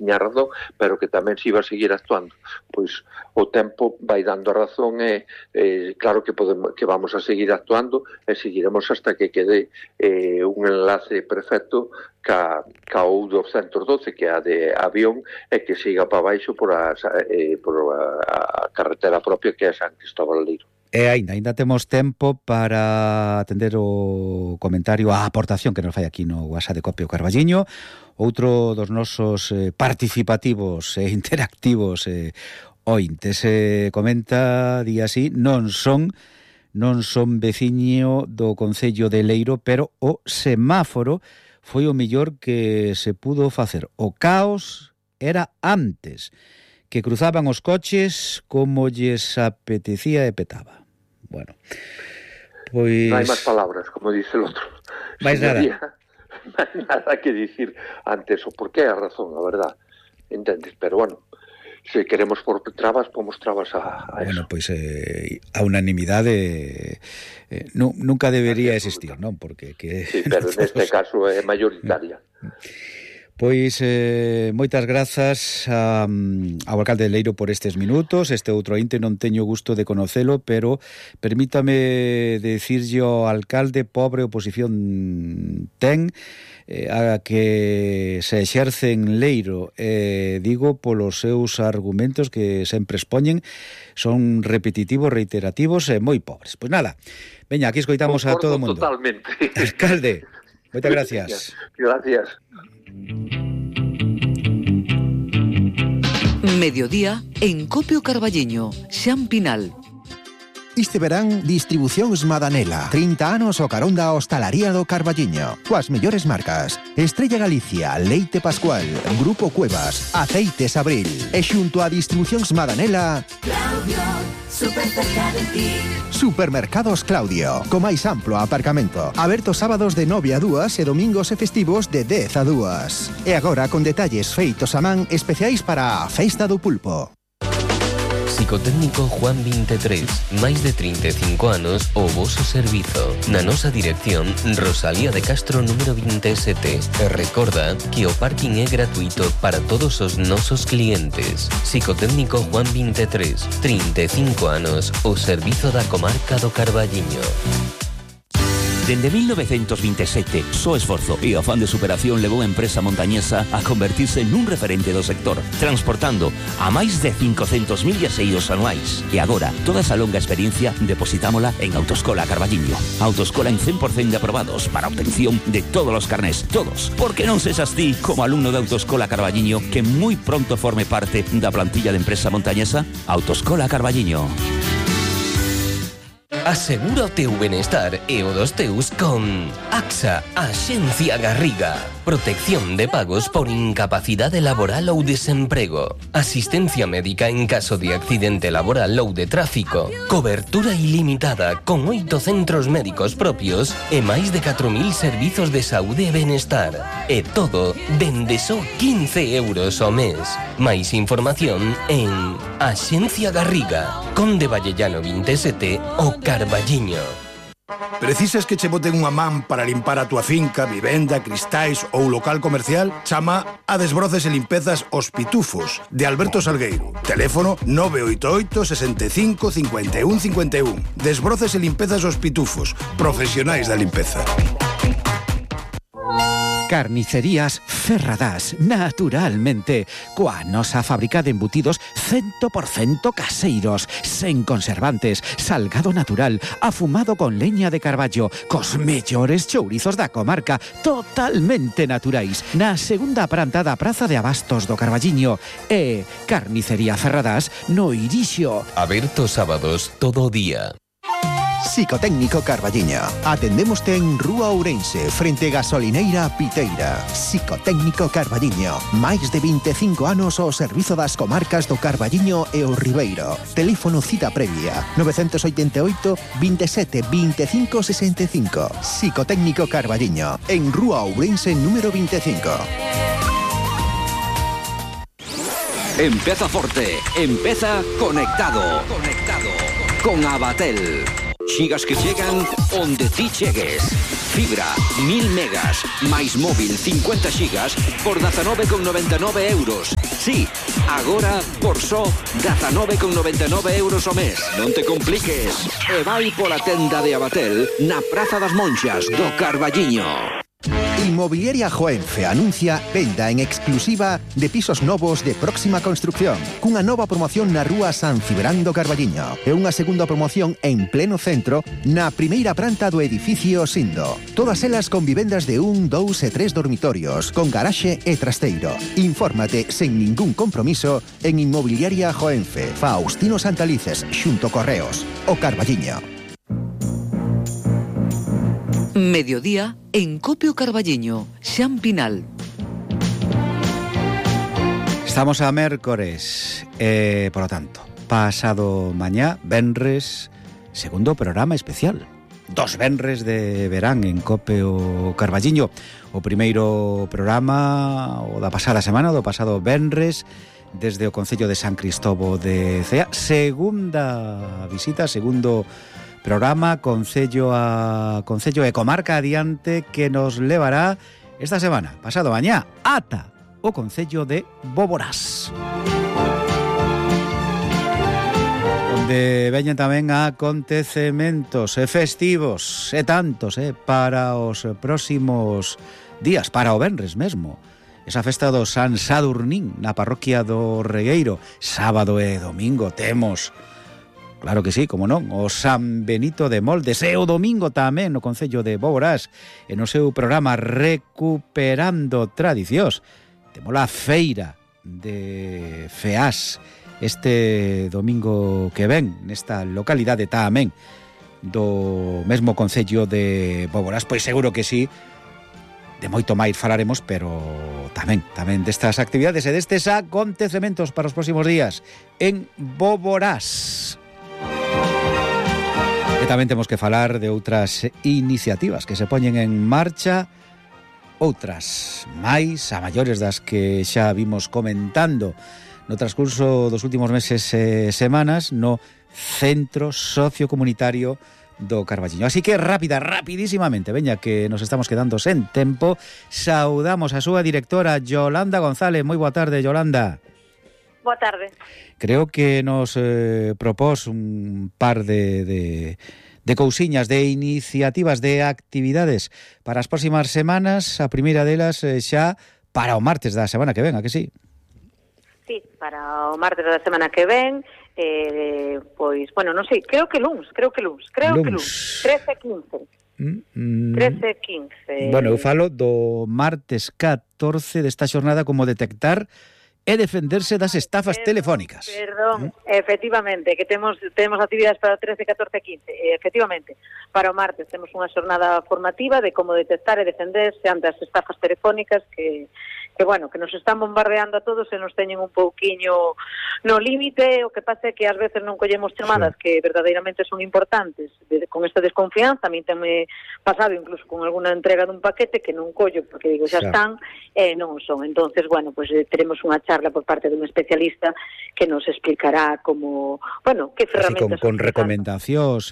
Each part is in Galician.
tiña razón, pero que tamén se iba a seguir actuando. Pois o tempo vai dando a razón e claro que vamos a seguir actuando e seguiremos hasta que quede un enlace perfecto ca o 212, que é a de avión, e que siga para baixo por a carretera propia que é San Cristóbal Leiro. E ainda temos tempo para atender o comentario, a aportación que nos fai aquí no WhatsApp de Copio Carballiño, outro dos nosos participativos e interactivos ointes. Comenta, di así, non son veciño do Concello de Leiro, pero o semáforo foi o mellor que se pudo facer. O caos era antes, que cruzaban os coches como lles apetecía e petaba. Bueno, pois... Non hai máis palabras, como dice el outro. Mais nada. Non hai nada que dicir antes, o porqué a razón, a verdad. Entendes? Pero bueno, se queremos por trabas, pomos trabas a bueno, eso. Pois a unanimidade nunca debería existir, non? Porque sí, pero neste caso é mayoritaria. Pois moitas grazas ao alcalde de Leiro por estes minutos. Este outro ointe non teño gusto de conocelo, pero permítame decirlle ao alcalde, pobre oposición ten a que se exerce en Leiro, digo polos seus argumentos que sempre expoñen, son repetitivos, reiterativos e moi pobres. Pois nada, veña, aquí escoitamos a todo o mundo. Totalmente. Alcalde, moitas gracias. Gracias. Mediodía en Copio Carballiño, Xan Pinal. Este verán, Distribucións Madanela. 30 anos o carón da hostalaría do Carballiño. Coas mellores marcas: Estrella Galicia, Leite Pascual, Grupo Cuevas, Aceites Abril. E xunto a Distribucións Madanela, Claudio, super cerca de ti. Supermercados Claudio, co máis amplo aparcamento. Aberto sábados de 9 a 2 e domingos e festivos de 10 a 2. E agora con detalles feitos a man especiais para a Festa do Pulpo. Psicotécnico Juan 23, máis de 35 anos o voso servizo. Na nosa dirección, Rosalía de Castro número 27. E recorda que o parking é gratuito para todos os nosos clientes. Psicotécnico Juan 23, 35 anos o servizo da comarca do Carballiño. Dende 1927, só esforzo e afán de superación levou a empresa montañesa a convertirse nun referente do sector, transportando a máis de 500.000 viaxeiros anuais. E agora, toda esa longa experiencia depositámola en Autoescola Carballiño. Autoescola en 100% de aprobados para obtención de todos os carnés, todos. Porque non sexas ti, como alumno de Autoescola Carballiño, que moi pronto forme parte da plantilla de empresa montañesa. Autoescola Carballiño. Asegura o teu benestar e o dos teus con AXA, Axencia Garriga. Protección de pagos por incapacidade laboral ou desemprego. Asistencia médica en caso de accidente laboral ou de tráfico. Cobertura ilimitada con 8 centros médicos propios e máis de 4.000 servizos de saúde e benestar. E todo dende só 15 euros ao mes. Máis información en Axencia Garriga, Conde Vallellano 27 o Carballiño. Precisas que che boten unha man para limpar a túa finca, vivenda, cristais ou local comercial? Chama a Desbroces e Limpezas Os Pitufos, de Alberto Salgueiro. Teléfono 988 65 51 51. Desbroces e Limpezas Os Pitufos, profesionais da limpeza. Carnicerías Ferradás, naturalmente, coa nosa fábrica de embutidos 100% caseiros, sen conservantes, salgado natural, afumado con leña de carballo, cos mellores chourizos da comarca, totalmente naturais, na segunda planta da Praza de Abastos do Carballiño. E Carnicería Ferradás no Irixo. Aberto sábados todo o día. Psicotécnico Carballiño. Atendémoste en Rúa Ourense, frente Gasolineira Piteira. Psicotécnico Carballiño. Máis de 25 anos ao servizo das comarcas do Carballiño e o Ribeiro. Teléfono cita previa 988 27 25 65. Psicotécnico Carballiño. En Rúa Ourense número 25. Empeza forte, empeza conectado. Con Abatel. Xigas que chegan onde ti chegues. Fibra, 1000 megas, máis móvil 50 xigas por 19,99 euros. Sí, agora por só 19,99 € ao mes. Non te compliques. E vai pola tenda de Abatel na Praza das Monxas do Carballiño. Inmobiliaria Joenfe anuncia venda en exclusiva de pisos novos de próxima construcción, cunha nova promoción na rúa San Cibrán do Carballiño e unha segunda promoción en pleno centro na primeira planta do edificio Sindo. Todas elas con vivendas de 1, 2 e 3 dormitorios, con garaxe e trasteiro. Infórmate sen ningún compromiso en Inmobiliaria Joenfe, Faustino Santalices, xunto Correos, o Carballiño. Mediodía en Copio Carballiño, Xan Pinal. Estamos a mércores, por lo tanto, pasado mañá, venres, segundo programa especial. 2 venres de verán en Copio Carballiño. O primeiro programa o da pasada semana, do pasado venres, desde o Concello de San Cristobo de Cea. Segunda visita, segundo programa, Concello e Comarca adiante, que nos levará esta semana, pasado mañá, ata o Concello de Boborás, onde veñen tamén acontecementos e festivos e tantos para os próximos días, para o venres mesmo. Esa festa do San Sadurnín na parroquia do Regueiro, sábado e domingo temos, claro que sí, como non, o San Benito de Moldes, e o domingo tamén no Concello de Boborás, e no seu programa Recuperando Tradicións temos a feira de Feás este domingo que ven nesta localidade tamén do mesmo Concello de Boborás. Pois seguro que sí, de moito máis falaremos, pero tamén destas actividades e destes acontecementos para os próximos días en Boborás. E tamén temos que falar de outras iniciativas que se poñen en marcha, outras máis a maiores das que xa vimos comentando no transcurso dos últimos meses e semanas no Centro Sociocomunitario do Carballiño. Así que rapidísimamente, veña que nos estamos quedando sen tempo, saudamos a súa directora Yolanda González. Moi boa tarde, Yolanda. Boa tarde. Creo que nos propós un par de cousiñas, de iniciativas, de actividades para as próximas semanas. A primeira delas xa para o martes da semana que ven, a que sí? Sí, para o martes da semana que ven, pois, bueno, non sei, creo que luns, 13-15. 13-15. Bueno, eu falo do martes 14 desta xornada como detectar e defenderse das estafas telefónicas. Perdón, efectivamente, que temos actividades para o 13, 14 e 15. Efectivamente, para o martes temos unha xornada formativa de como detectar e defenderse ante as estafas telefónicas que bueno, que nos están bombardeando a todos e nos teñen un pouquiño no límite. O que pasa é que ás veces non collemos chamadas que verdadeiramente son importantes. Con esta desconfianza, a mí teme pasado incluso con alguna entrega dun paquete que non collo, porque digo, xa están, e non son. Entonces, bueno, pues teremos unha charla por parte dun especialista que nos explicará como, bueno, que ferramentas... Así con recomendacións,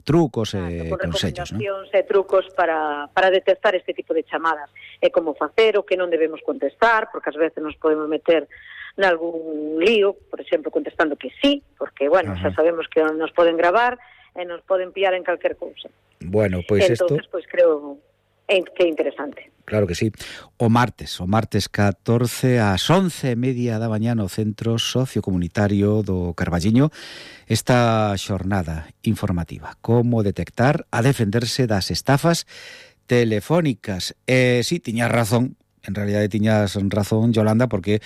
trucos e recomendacións, consellos, ¿no? E trucos para detectar este tipo de chamadas. E como facer o que non debemos contestar, porque ás veces nos podemos meter nalgún lío, por exemplo, contestando que sí, porque, bueno, xa sabemos que nos poden gravar e nos poden pillar en calquer cousa. Bueno, pois entonces, pois creo que é interesante. Claro que sí. O martes 14 ás 11:30 da mañá no Centro Sociocomunitario do Carballiño, esta xornada informativa, como detectar a defenderse das estafas telefónicas. Sí, tiñas razón, en realidade tiñas razón, Yolanda, porque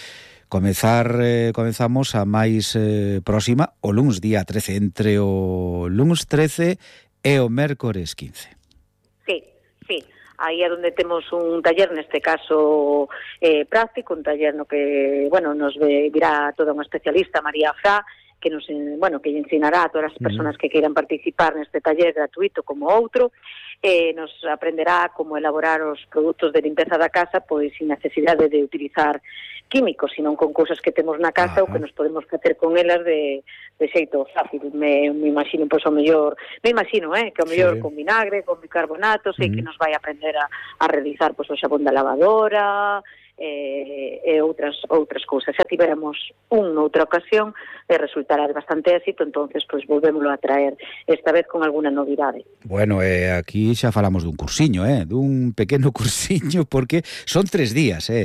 comezamos a máis próxima o luns día 13, entre o luns 13 e o mércores 15. Sí. Aí é onde temos un taller, neste caso práctico, un taller no que, bueno, nos virá toda unha especialista, María Fra, que nos, bueno, que ensinará a todas as persoas que queiran participar neste taller gratuito como outro. Nos aprenderá como elaborar os produtos de limpeza da casa, pois sin necesidade de utilizar químicos, sino con cousas que temos na casa ou que nos podemos facer con elas de xeito fácil. Me imagino, pois, que o mellor con vinagre, con bicarbonato, sei que nos vai aprender a realizar, pois, o xabón da lavadora, e outras cousas. Xa tiveramos noutra ocasión e resultará de bastante éxito, entonces pois volvémoslo a traer esta vez con alguna novidade. Bueno, aquí xa falamos dun cursiño, dun pequeno cursiño, porque son 3 días, 13,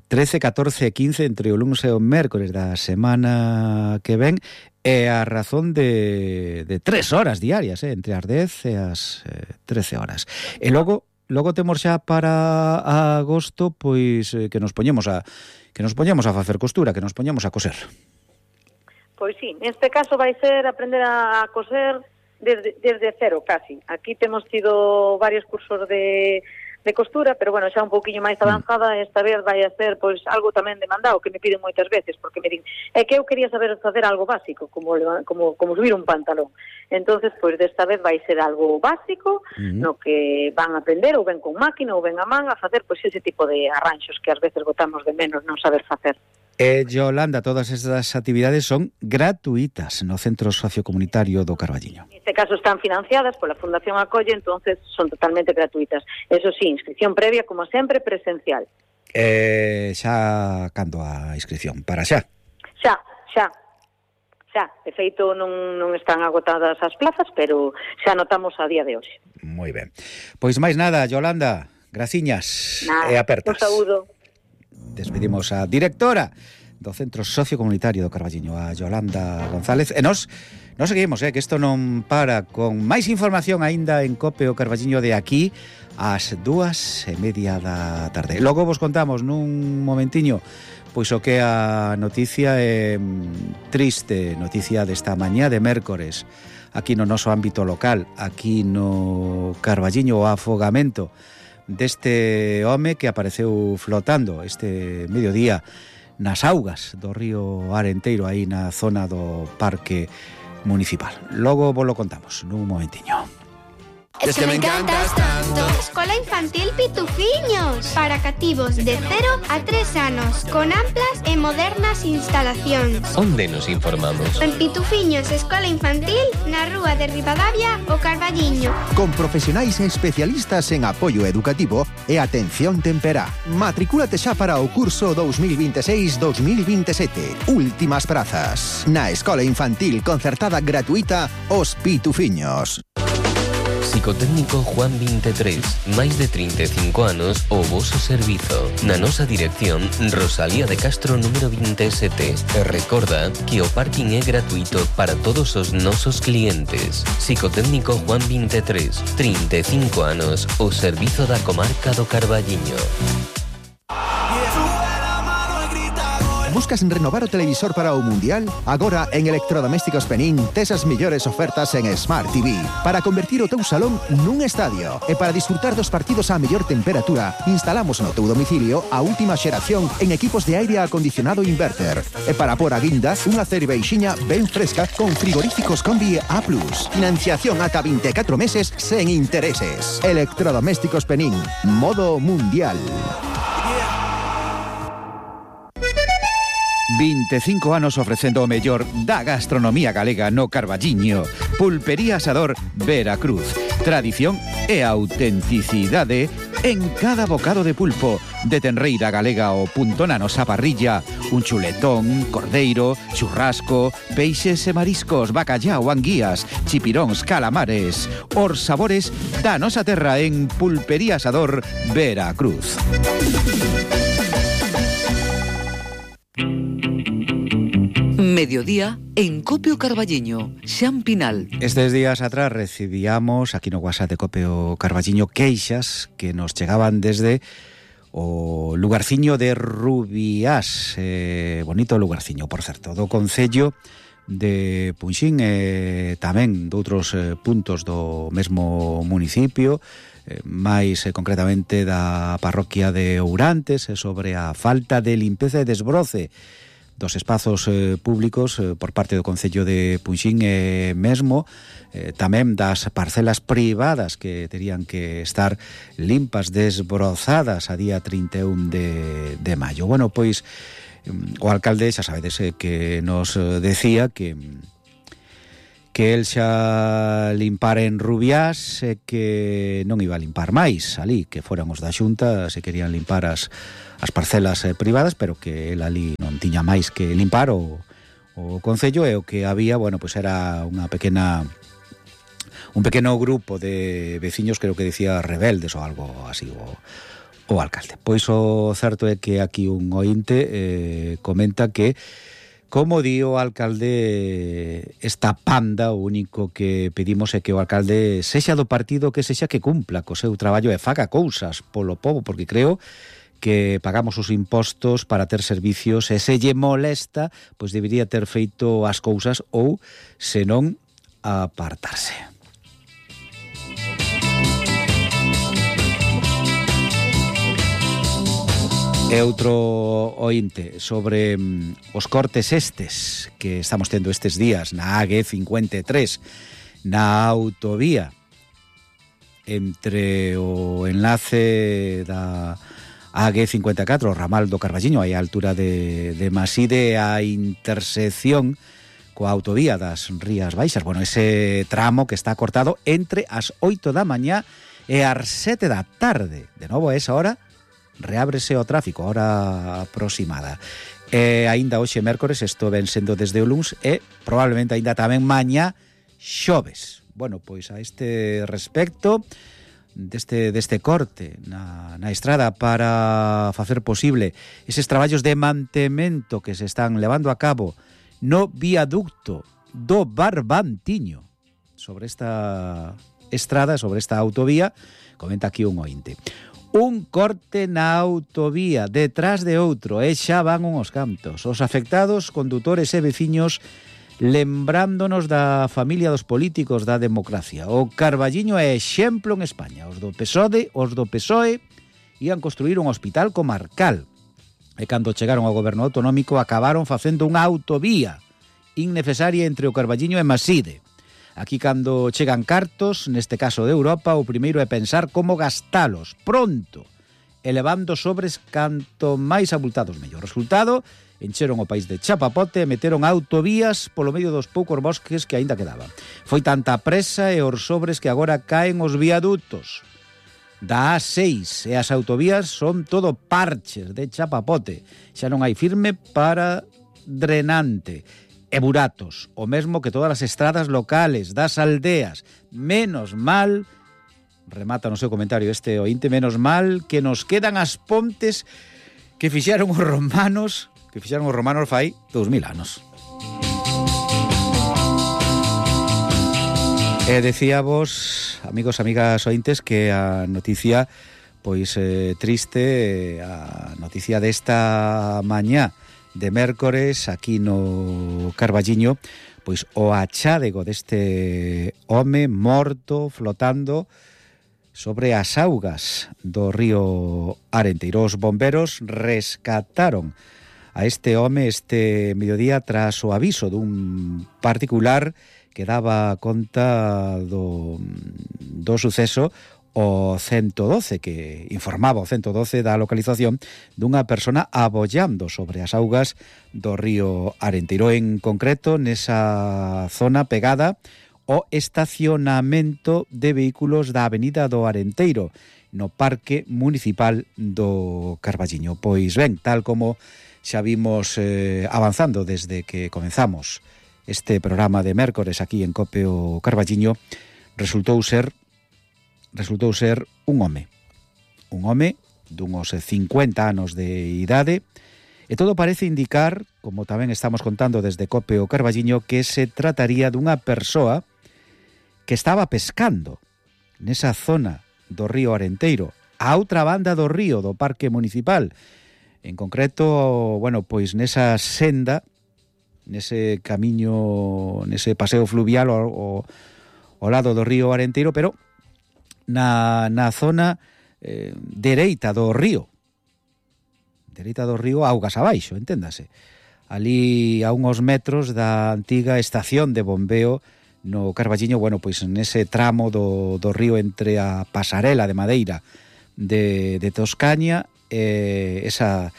14 e 15 entre o lunes e o mércores da semana que ven, e a razón de 3 horas diarias, entre as 10 e as 13 horas. E logo temos xa para agosto, pois que nos poñemos a facer costura, que nos poñemos a coser. Pois sí, neste caso vai ser aprender a coser desde cero, casi. Aquí temos tido varios cursos de costura, pero bueno, xa un pouquiño máis avanzada, esta vez vai a ser pois algo tamén demandado, que me piden moitas veces, porque me din, é que eu quería saber facer algo básico, como subir un pantalón. Entonces, pois desta vez vai ser algo básico, no que van a aprender, ou ben con máquina, ou ben a man, a facer pois ese tipo de arranxos que ás veces botamos de menos non saber facer. Yolanda, todas estas actividades son gratuitas no Centro Sociocomunitario do Carballiño. Neste caso están financiadas pola Fundación Acolle, entonces son totalmente gratuitas. Eso sí, inscripción previa, como sempre, presencial. Xa cando a inscripción? Para xa? Xa. De feito, non están agotadas as plazas, pero xa notamos a día de hoxe. Moi ben. Pois máis nada, Yolanda, graciñas e apertas. Un saúdo. Despedimos a directora do Centro Sociocomunitario do Carballiño, a Yolanda González, e nos seguimos, que isto non para, con máis información aínda en Cope o Carballiño de aquí ás 2:30 da tarde. Logo vos contamos nun momentiño pois o que a noticia é triste, noticia desta mañá de mércores aquí no noso ámbito local, aquí no Carballiño, o afogamento deste home que apareceu flotando este mediodía nas augas do río Arenteiro, aí na zona do Parque Municipal. Logo vos lo contamos nun momentiño. Es que me encantas tanto. Escola Infantil Pitufiños, para cativos de 0 a 3 anos, con amplas e modernas instalacións. Onde nos informamos? En Pitufiños Escola Infantil, na rúa de Ribadavia, o Carballiño. Con profesionais e especialistas en apoio educativo e atención temperá. Matricúlate xa para o curso 2026-2027. Últimas prazas. Na Escola Infantil concertada gratuita Os Pitufiños. Psicotécnico Juan 23, máis de 35 anos o voso servizo. Na nosa dirección, Rosalía de Castro número 27. E recorda que o parking é gratuito para todos os nosos clientes. Psicotécnico Juan 23, 35 anos, o servizo da comarca do Carballiño. Buscas renovar o televisor para o Mundial? Agora en Electrodomésticos Penín tes as mellores ofertas en Smart TV para convertir o teu salón nun estadio. E para disfrutar dos partidos á mellor temperatura, instalamos no teu domicilio a última xeración en equipos de aire acondicionado inverter. E para por a guinda, unha cerveixiña ben fresca con frigoríficos Combi A+. Financiación ata 24 meses sen intereses. Electrodomésticos Penín, modo Mundial. 25 anos ofrecendo o mellor da gastronomía galega no Carballiño. Pulpería Asador Veracruz. Tradición e autenticidade en cada bocado de pulpo. De tenreira galega ao punto na nosa parrilla. Un chuletón, cordeiro, churrasco, peixes e mariscos, bacallao, anguías, chipiróns, calamares. Os sabores da nosa terra en Pulpería Asador Veracruz. Mediodía en Cope o Carballiño, Xan Pinal. Estes días atrás recibíamos aquí no WhatsApp de Cope o Carballiño queixas que nos chegaban desde o lugarciño de Rubiás, bonito lugarciño, por certo, do concello de Punxín e tamén de outros puntos do mesmo municipio, máis concretamente da parroquia de Ourantes, sobre a falta de limpeza e desbroce dos espazos públicos por parte do Concello de Punxín e mesmo tamén das parcelas privadas que terían que estar limpas, desbrozadas a día 31 de maio. Bueno, pois o alcalde, xa sabedes, que nos decía que que el xa limpara en Rubiás e que non iba a limpar máis ali, que foran os da Xunta se querían limpar as parcelas privadas, pero que el ali non tiña máis que limpar o Concello, e o que había, bueno, pois era un pequeno grupo de veciños, creo que decía rebeldes ou algo así, o alcalde. Pois o certo é que aquí un ointe comenta que, como di o alcalde, esta panda, o único que pedimos é que o alcalde sexa do partido que sexa, que cumpla co seu traballo e faga cousas polo pobo, porque creo que pagamos os impostos para ter servicios e se lle molesta, pois debería ter feito as cousas ou, senón, apartarse. E outro ointe sobre os cortes estes que estamos tendo estes días na AG53, na autovía entre o enlace da AG54, o ramal do Carballiño, aí a altura de Maside, a intersección coa autovía das Rías Baixas. Bueno, ese tramo que está cortado entre as 8 da mañá e as 7 da tarde. De novo, a esa hora reábrese o tráfico, hora aproximada. Aínda hoxe mércores, isto ven sendo desde o luns, e probablemente aínda tamén mañá xoves. Bueno, pois a este respecto deste corte na estrada para facer posible eses traballos de mantemento que se están levando a cabo no viaducto do Barbantiño sobre esta estrada, sobre esta autovía, comenta aquí un ointe. Un corte na autovía detrás de outro e xa van uns cantos. Os afectados, condutores e veciños, lembrándonos da familia dos políticos da democracia. O Carballiño é exemplo en España. Os do PSOE ian construir un hospital comarcal. E cando chegaron ao goberno autonómico acabaron facendo unha autovía innecesaria entre o Carballiño e Maside. Aquí, cando chegan cartos, neste caso de Europa, o primeiro é pensar como gastalos pronto, elevando sobres canto máis abultados mellor. Resultado, encheron o país de chapapote e meteron autovías polo medio dos poucos bosques que aínda quedaban. Foi tanta presa e os sobres que agora caen os viadutos da A6 e as autovías son todo parches de chapapote. Xa non hai firme para drenante. E buratos, o mesmo que todas as estradas locales das aldeas. Menos mal, remata no seu comentario este ointe, menos mal que nos quedan as pontes que fixaron os romanos fai 2000 anos. E decíavos, amigos, amigas ointes, que a noticia pois triste, a noticia desta mañá de mércores aquí no Carballiño, pois o achádego deste home morto flotando sobre as augas do río Arenteiro. Os bomberos rescataron a este home este mediodía tras o aviso dun particular que daba conta do suceso o 112, que informaba o 112 da localización dunha persona abollando sobre as augas do río Arenteiro, en concreto nesa zona pegada ao estacionamento de vehículos da Avenida do Arenteiro, no Parque Municipal do Carballiño. Pois ben, tal como xa vimos avanzando desde que comenzamos este programa de mércores aquí en Cope o Carballiño, resultou ser un home dunos 50 anos de idade, e todo parece indicar, como tamén estamos contando desde Cope o Carballiño, que se trataría dunha persoa que estaba pescando nesa zona do río Arenteiro, a outra banda do río do Parque Municipal, en concreto, bueno, pois nesa senda, nese camiño, nese paseo fluvial ao lado do río Arenteiro, pero na zona dereita do río, augas abaixo, enténdase. Ali a uns metros da antiga estación de bombeo no Carballiño, bueno, pois nese tramo do río entre a pasarela de madeira de Toscaña e esa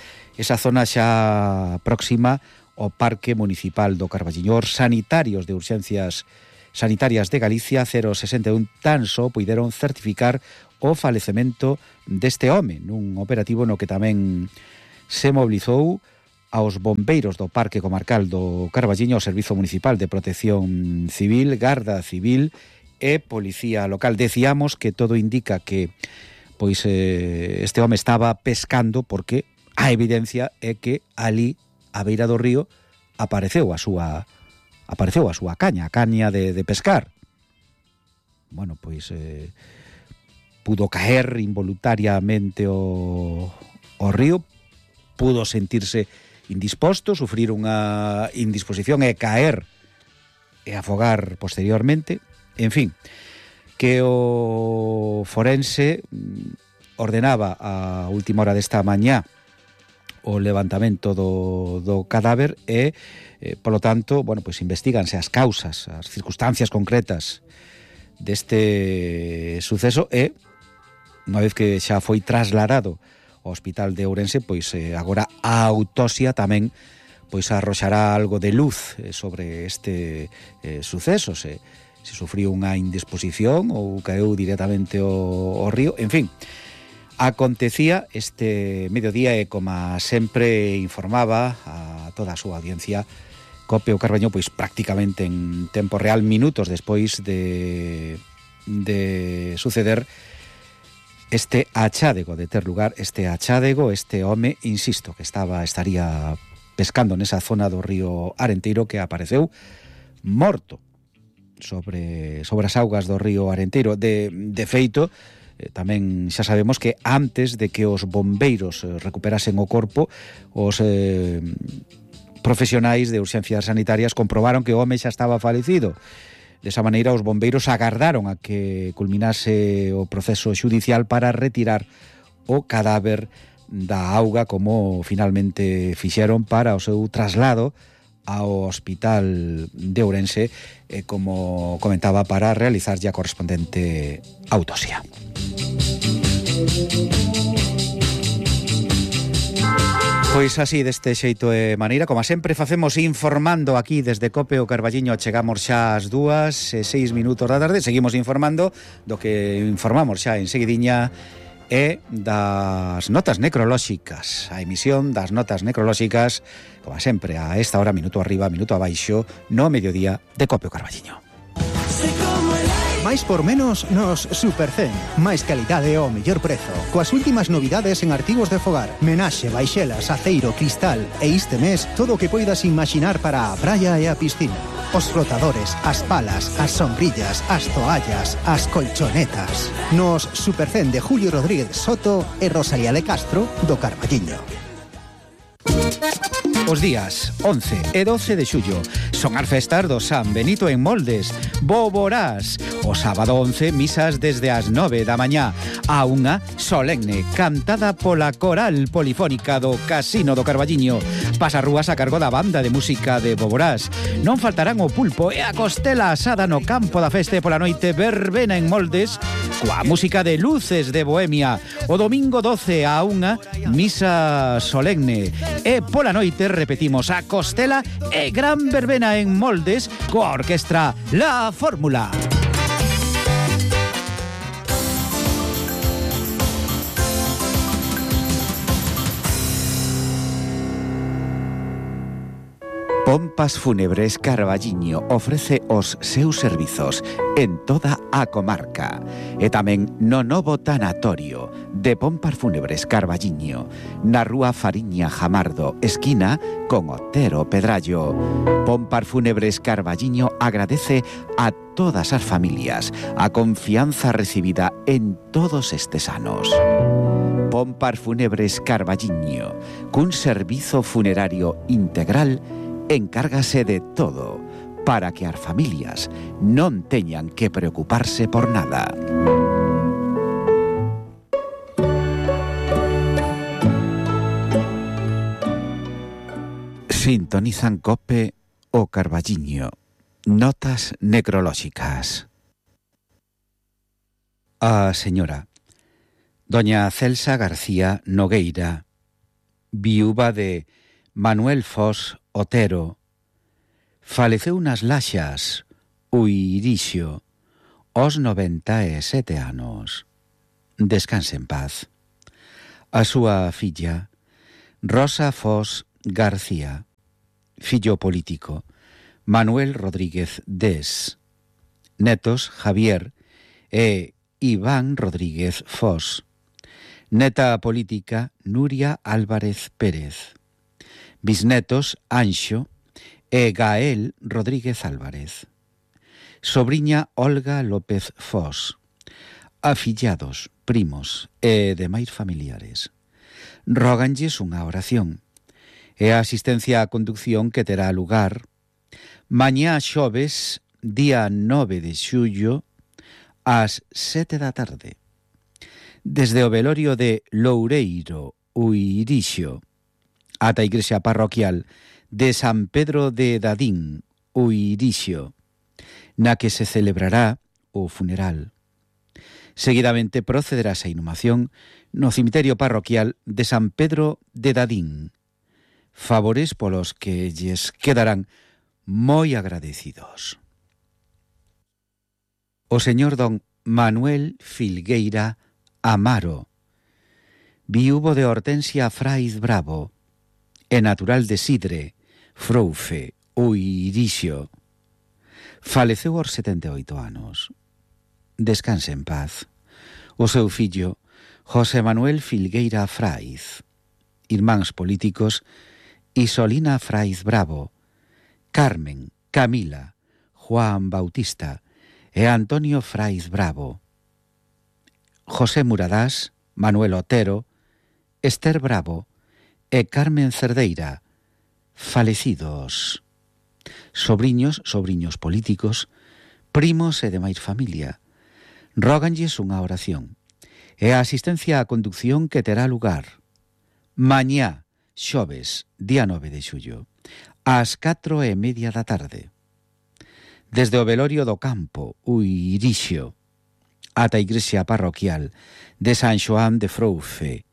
zona xa próxima ao Parque Municipal do Carballiño. Os sanitarios de urxencias Sanitarias de Galicia 061 tan só puideron certificar o falecemento deste home nun operativo no que tamén se mobilizou aos bombeiros do Parque Comarcal do Carballiño, o Servizo Municipal de Protección Civil, Garda Civil e Policía Local. Decíamos que todo indica que pois este home estaba pescando porque a evidencia é que ali á beira do río apareceu a súa caña, a caña de pescar. Bueno, pois pudo caer involuntariamente o río, pudo sentirse indisposto, sufrir unha indisposición e caer e afogar posteriormente. En fin, que o forense ordenaba a última hora desta mañá o levantamento do cadáver e, polo tanto, bueno, pois investíganse as causas, as circunstancias concretas deste suceso e, unha vez que xa foi trasladado ao Hospital de Ourense, pois agora a autopsia tamén pois arroxará algo de luz sobre este suceso, se sufriu unha indisposición ou caeu directamente ao río, en fin. Acontecía este mediodía e, como sempre informaba a toda a súa audiencia, Cope o Carballiño, pois prácticamente en tempo real, minutos despois de suceder este achádego, de ter lugar este achádego, este home, insisto, que estaría pescando nesa zona do río Arenteiro, que apareceu morto sobre as augas do río Arenteiro. De feito, tamén xa sabemos que antes de que os bombeiros recuperasen o corpo, os profesionais de urxencias sanitarias comprobaron que o home xa estaba falecido. Desa maneira, os bombeiros agardaron a que culminase o proceso xudicial para retirar o cadáver da auga, como finalmente fixeron para o seu traslado ao Hospital de Ourense, como comentaba, para realizar a correspondente autopsia. Pois así, deste xeito e maneira, como sempre facemos informando aquí desde Cope o Carballiño. Chegamos xa ás 2:06 da tarde, seguimos informando do que informamos xa en seguidiña e das notas necrolóxicas, a emisión das notas necrolóxicas, como sempre, a esta hora, minuto arriba, minuto abaixo, no mediodía de Cope o Carballiño. Máis por menos nos Supercen. Máis calidade ao mellor prezo. Coas últimas novidades en artigos de fogar. Menaxe, baixelas, aceiro, cristal. E este mes, todo o que poidas imaginar para a praia e a piscina. Os flotadores, as palas, as sombrillas, as toallas, as colchonetas. Nos Supercen de Julio Rodríguez Soto e Rosalía de Castro do Carballiño. Os días 11 e 12 de xullo son as festas do San Benito en Moldes, Boborás. O sábado 11, misas desde as 9 da mañá a unha solemne cantada pola coral polifónica do Casino do Carballiño. Pasarrúas a cargo da banda de música de Boborás. Non faltarán o pulpo e a costela asada no campo da festa pola noite, verbena en Moldes coa música de Luces de Bohemia. O domingo 12 a unha, misa solemne. E pola noite repetimos a costela e gran verbena en Moldes coa orquestra La Fórmula. Pompas Fúnebres Carballiño ofrece os seus servizos en toda a comarca e tamén no novo tanatorio de Pompas Fúnebres Carballiño, na rúa Fariña Jamardo, esquina con Otero Pedrallo. Pompas Fúnebres Carballiño agradece a todas as familias a confianza recibida en todos estes anos. Pompas Fúnebres Carballiño, cun servizo funerario integral, encárgase de todo para que as familias non teñan que preocuparse por nada. Sintonizan Cope o Carballiño. Notas necrolóxicas. A señora doña Celsa García Nogueira, viúva de Manuel Fos Otero, faleceu nas Laxas Uirixio, aos 97 anos. Descanse en paz. A súa filla, Rosa Fos García. Fillo político, Manuel Rodríguez Des. Netos, Javier e Iván Rodríguez Fos. Neta política, Nuria Álvarez Pérez. Bisnetos, Anxo e Gael Rodríguez Álvarez. Sobriña, Olga López Fos. Afillados, primos e demais familiares. Róganlles unha oración e a asistencia á conducción que terá lugar mañá xoves, día 9 de xullo, ás 7 da tarde. Desde o velorio de Loureiro, Uirixio, ata a igrexa parroquial de San Pedro de Dadín, Uirixio, na que se celebrará o funeral. Seguidamente procederase a inhumación no cemiterio parroquial de San Pedro de Dadín, favores polos que lles quedarán moi agradecidos. O señor don Manuel Filgueira Amaro, viúvo de Hortensia Fraiz Bravo e natural de Sidre, Froufe, Uirixio, faleceu aos 78 anos. Descanse en paz. O seu fillo, José Manuel Filgueira Fraiz, irmáns políticos, Isolina Fraiz Bravo, Carmen, Camila, Juan Bautista e Antonio Fraiz Bravo, José Muradás, Manuel Otero, Esther Bravo e Carmen Cerdeira, falecidos. Sobriños políticos, primos e demais familia, róganlles unha oración e a asistencia á conducción que terá lugar mañá, xoves, día 9 de xullo, ás 4:30 da tarde. Desde o velorio do campo, Uirixio, ata a igrexa parroquial de San Xoán de Froufe,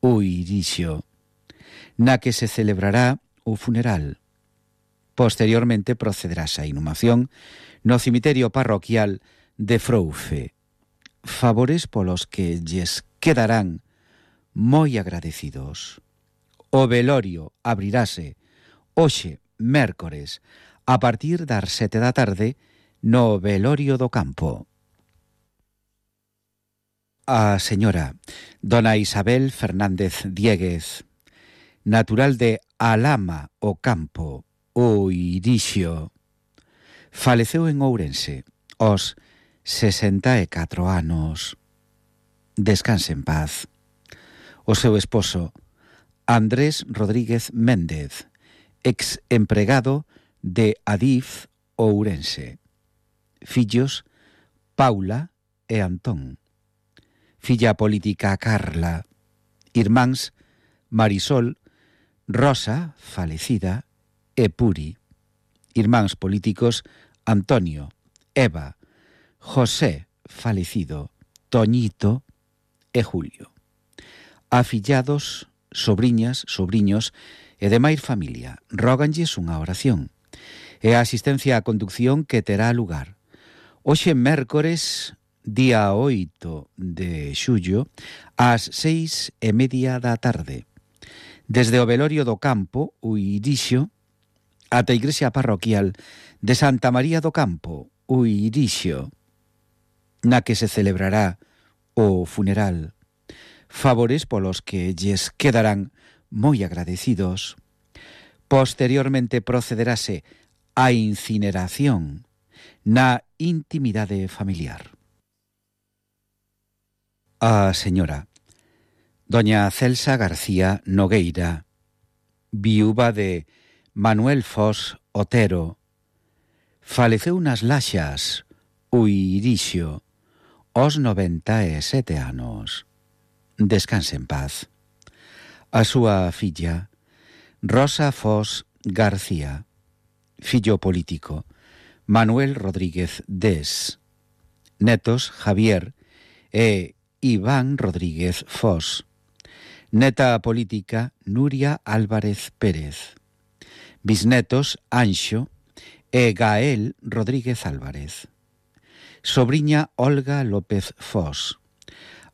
Uirixio, na que se celebrará o funeral. Posteriormente procederase a inhumación no cemiterio parroquial de Froufe, favores polos que lles quedarán moi agradecidos. O velorio abrirase hoxe, mércores, a partir das 7 da tarde, no velorio do campo. A señora dona Isabel Fernández Dieguez, natural de Alama o Campo, Uirixio, faleceu en Ourense aos 64 anos. Descanse en paz. O seu esposo, Andrés Rodríguez Méndez, ex empregado de Adif Ourense. Fillos, Paula e Antón. Filla política, Carla. Irmáns, Marisol, Rosa, falecida, e Puri. Irmáns políticos, Antonio, Eva, José, falecido, Toñito e Julio. Afillados, sobriñas, sobriños e demais familia, róganlles unha oración e a asistencia á conducción que terá lugar hoxe mércores, día 8 de xullo, ás 6:30 da tarde, desde o velorio do campo, Uirixio, ata a igrexa parroquial de Santa María do Campo, Uirixio, na que se celebrará o funeral, favores polos que lles quedarán moi agradecidos. Posteriormente procederase a incineración na intimidade familiar. A señora doña Celsa García Nogueira, viúva de Manuel Fos Otero, faleceu nas Laxas, Uirixio, aos 97 anos. Descanse en paz. A súa filla, Rosa Fos García, fillo político, Manuel Rodríguez Des. Netos, Javier e Iván Rodríguez Fos. Neta política, Nuria Álvarez Pérez. Bisnetos, Anxo e Gael Rodríguez Álvarez. Sobriña Olga López Fos.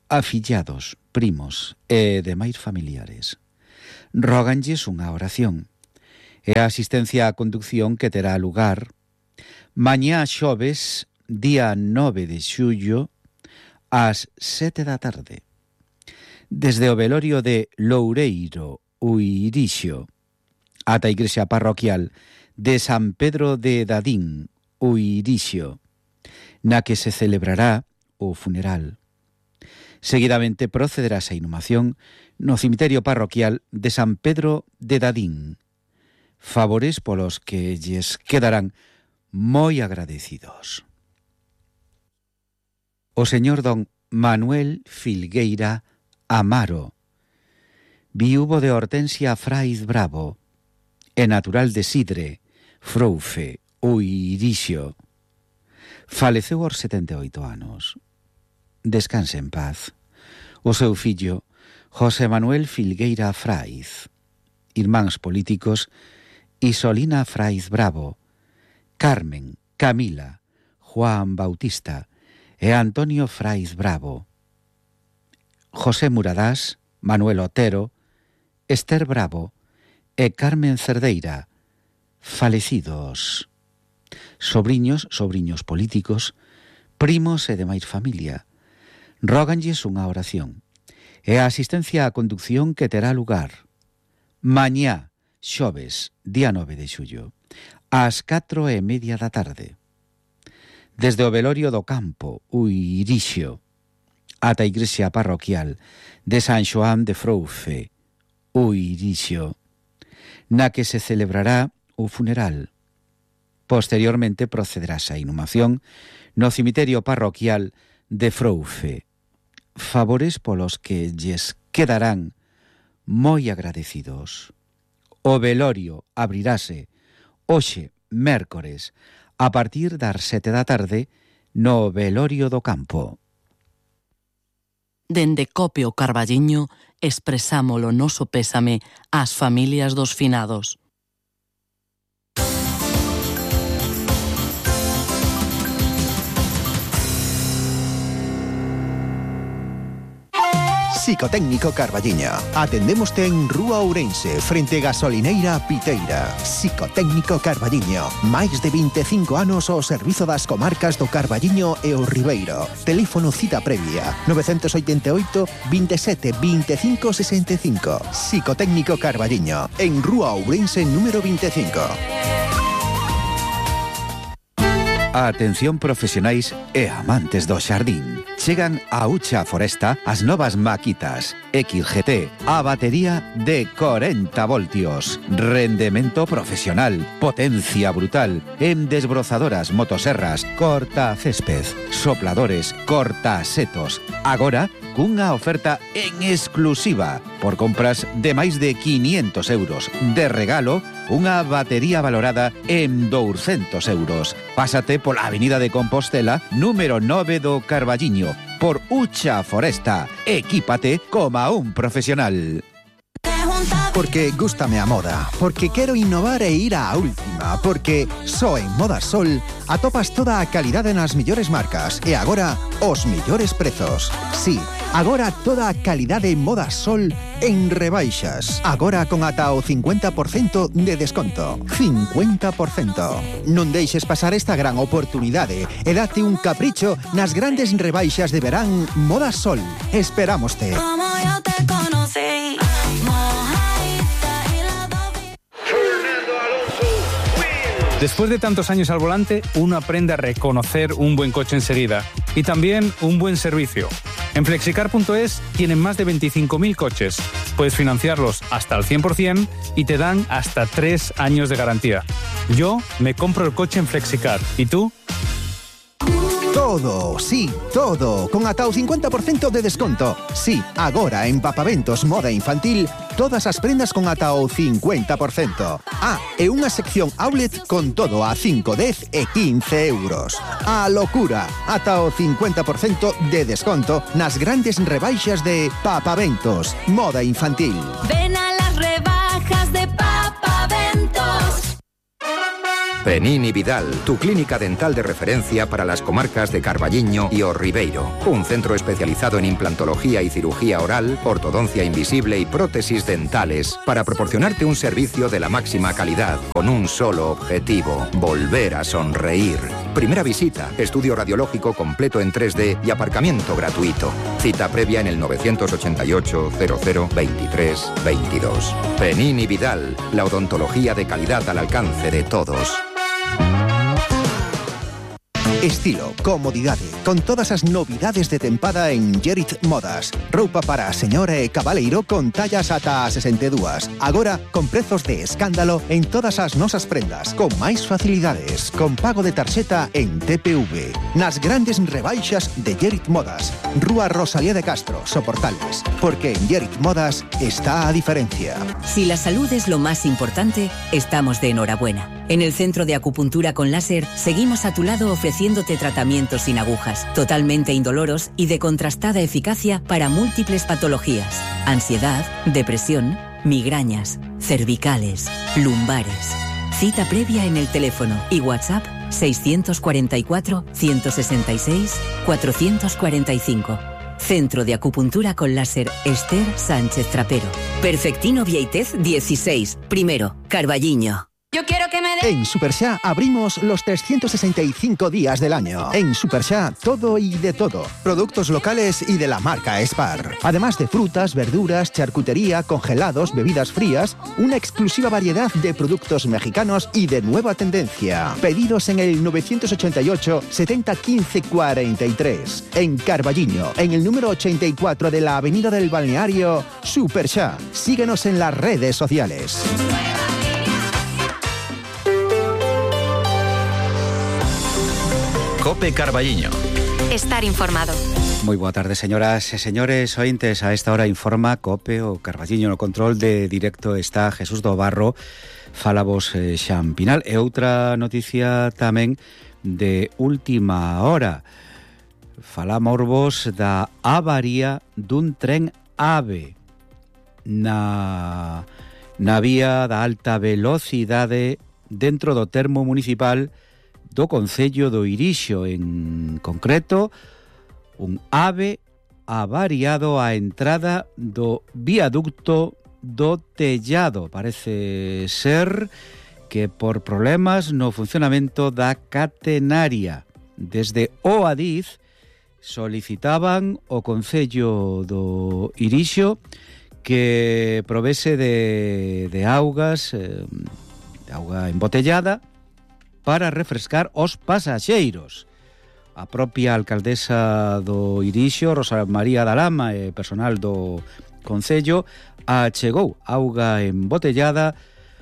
Afillados, primos e demais familiares. Róganlles unha oración e a asistencia á conducción que terá lugar mañá xoves, día 9 de xullo, ás 7 da tarde. Desde o velorio de Loureiro, Uirixo, ata a igrexa parroquial de San Pedro de Dadín, Uirixo, na que se celebrará o funeral. Seguidamente procederá a inhumación no cemiterio parroquial de San Pedro de Dadín. Favores polos que lles quedarán moi agradecidos. O señor don Manuel Filgueira Amaro, viúvo de Hortensia Fraiz Bravo, e natural de Sidre, Froufe, Uirixo, faleceu aos 78 anos. Descanse en paz. O seu fillo, José Manuel Filgueira Fraiz, irmáns políticos, Isolina Fraiz Bravo, Carmen, Camila, Juan Bautista e Antonio Fraiz Bravo, José Muradás, Manuel Otero, Esther Bravo e Carmen Cerdeira, falecidos. Sobriños políticos, primos e demais familia, róganlles unha oración e a asistencia á conducción que terá lugar mañá, xoves, día 9 de xullo, ás 4:30 da tarde. Desde o velorio do campo, Uirixo, ata a igrexa parroquial de San Xoán de Froufe, Uirixo, na que se celebrará o funeral. Posteriormente procederase a inhumación no cemiterio parroquial de Froufe. Favores polos que lles quedarán moi agradecidos. O velorio abrirase hoxe, mércores, a partir das 7 da tarde, no velorio do campo. Dende Copio Carballiño expresamos o noso pésame ás familias dos finados. Psicotécnico Carballiño. Atendémoste en Rúa Ourense, frente Gasolineira Piteira. Psicotécnico Carballiño. Máis de 25 anos ao servizo das comarcas do Carballiño e o Ribeiro. Teléfono cita previa 988 27 25 65. Psicotécnico Carballiño. En Rúa Ourense número 25. A atención profesionais e amantes do xardín. Chegan a Ucha Foresta as novas maquitas XGT, a batería de 40 voltios, rendemento profesional, potencia brutal, en desbrozadoras, motoserras, corta césped, sopladores, corta setos. Agora, cunha oferta en exclusiva, por compras de máis de 500 euros. De regalo, unha batería valorada en 200 euros. Pásate pola Avenida de Compostela, número 9 do Carballiño, por Ucha Foresta. Equípate como un profesional. Porque gústame a moda, porque quero innovar e ir á última, porque só en Moda Sol atopas toda a calidade nas millores marcas e agora os millores prezos. Sí, agora toda a calidade Moda Sol en rebaixas. Agora con ata o 50% de desconto. 50%. Non deixes pasar esta gran oportunidade e date un capricho nas grandes rebaixas de verán Moda Sol. Esperámoste. Como yo te conocí. Después de tantos años al volante, uno aprende a reconocer un buen coche enseguida y también un buen servicio. En Flexicar.es tienen más de 25.000 coches. Puedes financiarlos hasta el 100% y te dan hasta 3 años de garantía. Yo me compro el coche en Flexicar. ¿Y tú? Todo, sí, todo, con ata o 50% de desconto. Sí, agora en Papaventos Moda Infantil, todas as prendas con ata o 50%. Ah, e unha sección outlet con todo a 5, 10 e 15 euros. A locura, ata o 50% de desconto nas grandes rebaixas de Papaventos Moda Infantil. Ven a las rebajas de Papaventos. Penini Vidal, tu clínica dental de referencia para las comarcas de Carballiño y O Ribeiro. Un centro especializado en implantología y cirugía oral, ortodoncia invisible y prótesis dentales para proporcionarte un servicio de la máxima calidad con un solo objetivo: volver a sonreír. Primera visita, estudio radiológico completo en 3D y aparcamiento gratuito. Cita previa en el 988 00 23 22. Penini Vidal, la odontología de calidad al alcance de todos. Estilo, comodidade, con todas as novidades de tempada en Gerit Modas. Roupa para a señora e cabaleiro con tallas ata a 62. Agora, con prezos de escándalo en todas as nosas prendas, con máis facilidades, con pago de tarxeta en TPV. Nas grandes rebaixas de Gerit Modas. Rúa Rosalía de Castro, Soportales. Porque en Gerit Modas está a diferencia. Si la salud es lo más importante, estamos de enhorabuena. En el Centro de Acupuntura con Láser seguimos a tu lado ofreciéndote tratamientos sin agujas, totalmente indoloros y de contrastada eficacia para múltiples patologías: ansiedad, depresión, migrañas, cervicales, lumbares. Cita previa en el teléfono y WhatsApp 644 166 445. Centro de Acupuntura con Láser Esther Sánchez Trapero. Perfectino Vieitez 16, primero, Carballiño. Yo quiero que me En Superxá abrimos los 365 días del año. En Superxá, todo y de todo. Productos locales y de la marca Spar. Además de frutas, verduras, charcutería, congelados, bebidas frías, una exclusiva variedad de productos mexicanos y de nueva tendencia. Pedidos en el 988 70 15 43. En Carballiño, en el número 84 de la Avenida del Balneario, Superxá. Síguenos en las redes sociales. Cope Carballiño. Estar informado. Moi boa tarde, señoras e señores ointes. A esta hora informa Cope o Carballiño. No control de directo está Jesús do Barro. Falabos Xampinal. E outra noticia tamén de última hora. Falamorvos da avaría dun tren AVE na vía da alta velocidade dentro do termo municipal do concello do Irixo. En concreto, un AVE avariado á entrada do viaducto do Tellado. Parece ser que por problemas no funcionamento da catenaria. Desde o Adif solicitaban o concello do Irixo que provese de augas, de auga embotellada, para refrescar os pasaxeiros. A propia alcaldesa do Irixo, Rosa María da Lama, e personal do concello, achegou auga embotellada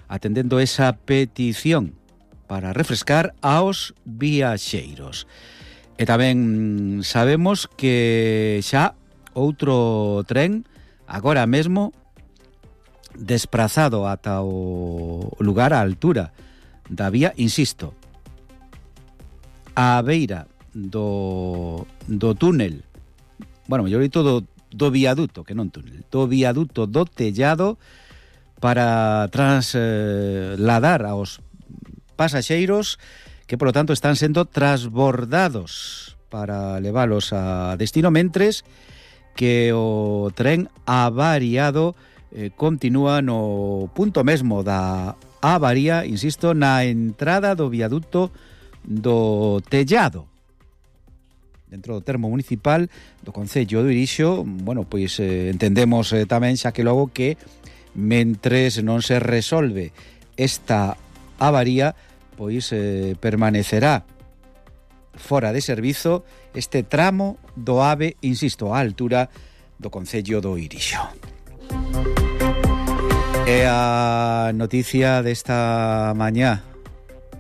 atendendo esa petición para refrescar aos viaxeiros. E tamén sabemos que xa outro tren, agora mesmo, desprazado ata o lugar á altura da vía, insisto, a beira do túnel, bueno, mellor dito do viaduto, que non túnel, do viaduto do Tellado, para trasladar aos pasaxeiros que, polo tanto, están sendo transbordados para leválos a destino, mentres que o tren avariado continúa no punto mesmo da avaría, insisto, na entrada do viaduto do Tellado, dentro do termo municipal do concello do Irixo. Bueno, pois entendemos tamén, xa que logo, que mentres non se resolve esta avaría, pois permanecerá fora de servizo este tramo do AVE, insisto, á altura do concello do Irixo. E a noticia desta mañá,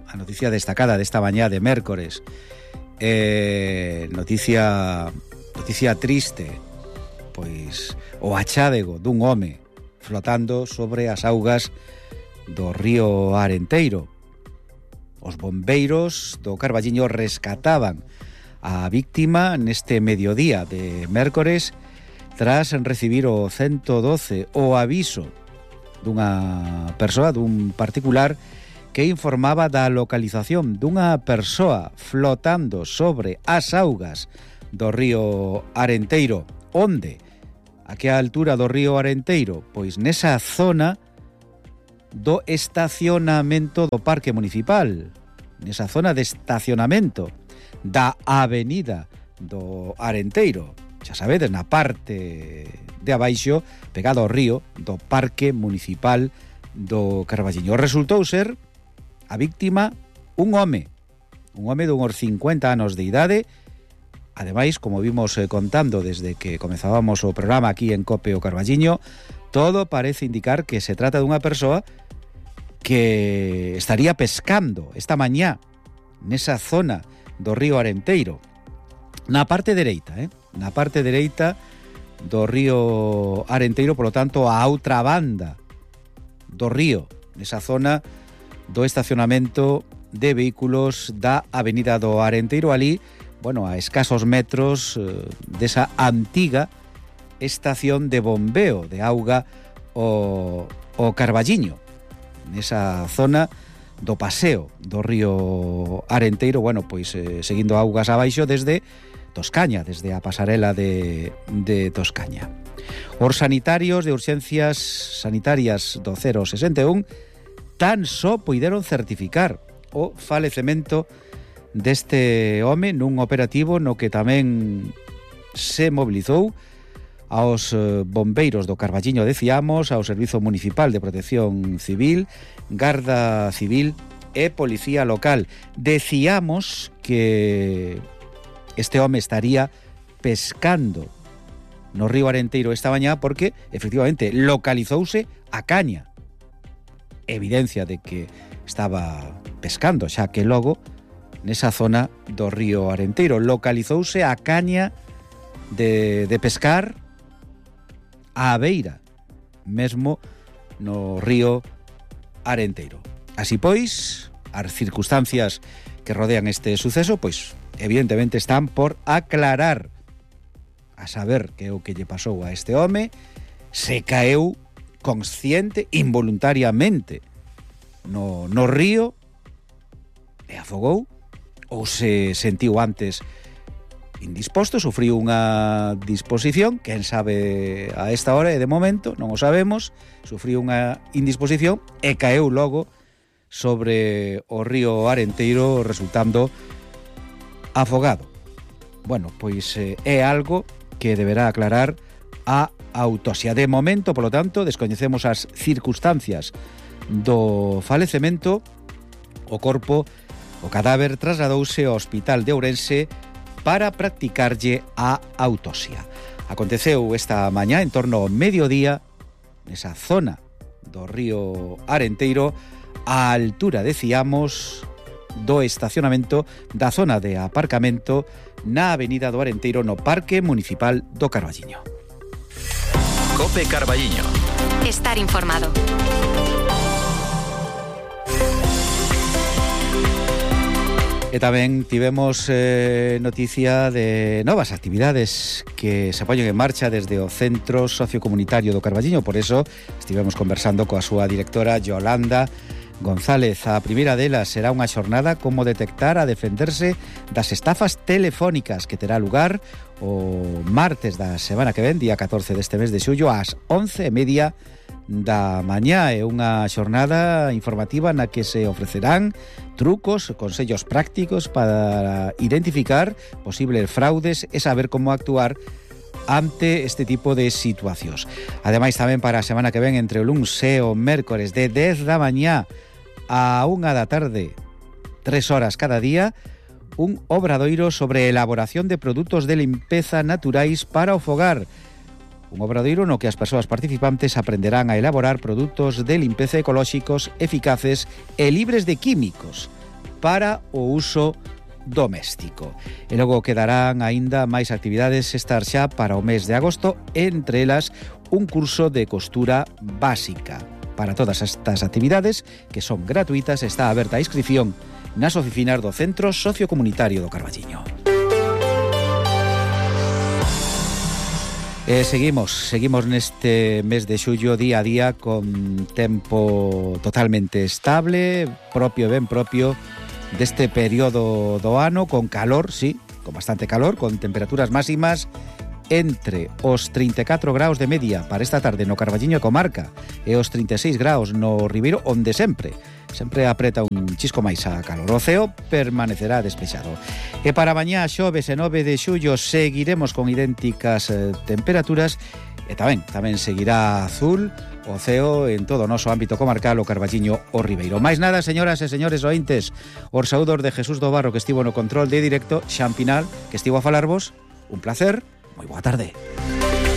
a noticia destacada desta mañá de mércores, noticia triste, pois o achádego dun home flotando sobre as augas do río Arenteiro. Os bombeiros do Carballiño rescataban a víctima neste mediodía de mércores tras recibir o 112, o aviso dunha persoa, dun particular, que informaba da localización dunha persoa flotando sobre as augas do río Arenteiro. Onde? A que altura do río Arenteiro? Pois nesa zona do estacionamento do Parque Municipal, nesa zona de estacionamento da avenida do Arenteiro. Xa sabedes, na parte de abaixo, pegado ao río do Parque Municipal do Carballiño. Resultou ser a víctima un home de uns 50 anos de idade. Ademais, como vimos contando desde que comezábamos o programa aquí en Cope o Carballiño, todo parece indicar que se trata dunha persoa que estaría pescando esta mañá nesa zona do río Arenteiro, na parte dereita, na parte dereita do río Arenteiro, polo tanto, a outra banda do río, nesa zona do estacionamento de vehículos da avenida do Arenteiro, ali, bueno, a escasos metros desa antiga estación de bombeo de auga o Carballiño, nesa zona do paseo do río Arenteiro, bueno, pois seguindo augas abaixo desde Toscaña, desde a pasarela de Toscaña. Os sanitarios de urxencias sanitarias do 061 tan só puideron certificar o falecemento deste home nun operativo no que tamén se mobilizou aos bombeiros do Carballiño, decíamos, ao Servizo Municipal de Protección Civil, Garda Civil e Policía Local. Decíamos que este home estaría pescando no río Arenteiro esta mañá porque, efectivamente, localizouse a caña. Evidencia de que estaba pescando, xa que logo, nesa zona do río Arenteiro, localizouse a caña de pescar á beira, mesmo no río Arenteiro. Así pois, as circunstancias que rodean este suceso, pois, evidentemente están por aclarar, a saber que é o que lle pasou a este home, se caeu consciente, involuntariamente, no río e afogou, ou se sentiu antes indisposto, sufriu unha disposición, quen sabe a esta hora, e de momento non o sabemos, sufriu unha indisposición e caeu logo sobre o río Arenteiro, resultando afogado. Bueno, pois é algo que deberá aclarar a autopsia. De momento, polo tanto, descoñecemos as circunstancias do falecemento. O corpo, o cadáver, trasladouse ao Hospital de Ourense para practicarlle a autopsia. Aconteceu esta mañá en torno ao mediodía nesa zona do río Arenteiro, á altura, decíamos, do estacionamento da zona de aparcamento na avenida do Arenteiro no Parque Municipal do Carballiño. Cope Carballiño. Estar informado. E tamén tivemos noticia de novas actividades que se poñen en marcha desde o Centro Sociocomunitario do Carballiño. Por eso estivemos conversando coa súa directora Yolanda González. A primeira delas será unha xornada como detectar a defenderse das estafas telefónicas, que terá lugar o martes da semana que ven, día 14 deste mes de xullo, ás 11:30 da mañá. É unha xornada informativa na que se ofrecerán trucos, consellos prácticos para identificar posibles fraudes e saber como actuar ante este tipo de situacións. Ademais, tamén para a semana que ven, entre o luns e o mércores, de 10 da mañá a 1 da tarde, 3 horas cada día, un obradoiro sobre elaboración de produtos de limpeza naturais para o fogar. Un obradoiro no que as persoas participantes aprenderán a elaborar produtos de limpeza ecolóxicos, eficaces e libres de químicos para o uso doméstico. E logo quedarán aínda máis actividades estar xa para o mes de agosto, entre elas un curso de costura básica. Para todas estas actividades, que son gratuitas, está aberta a inscripción nas oficinas do Centro Sociocomunitario do Carballiño. Seguimos neste mes de xullo día a día con tempo totalmente estable, ben propio deste período do ano, con calor, sí, con bastante calor, con temperaturas máximas entre os 34 graus de media para esta tarde no Carballiño e comarca e os 36 graus no Ribeiro, onde sempre apreta un chisco máis a calor. O ceo permanecerá despexado. E para mañá, xoves e 9 de xullo, seguiremos con idénticas temperaturas e tamén seguirá azul o ceo en todo o noso ámbito comarcal, o Carballiño, o Ribeiro. Mais nada, señoras e señores ointes, os saúdos de Jesús do Barro, que estivo no control de directo, Xan Pinal, que estivo a falarvos. Un placer. Moi boa tarde.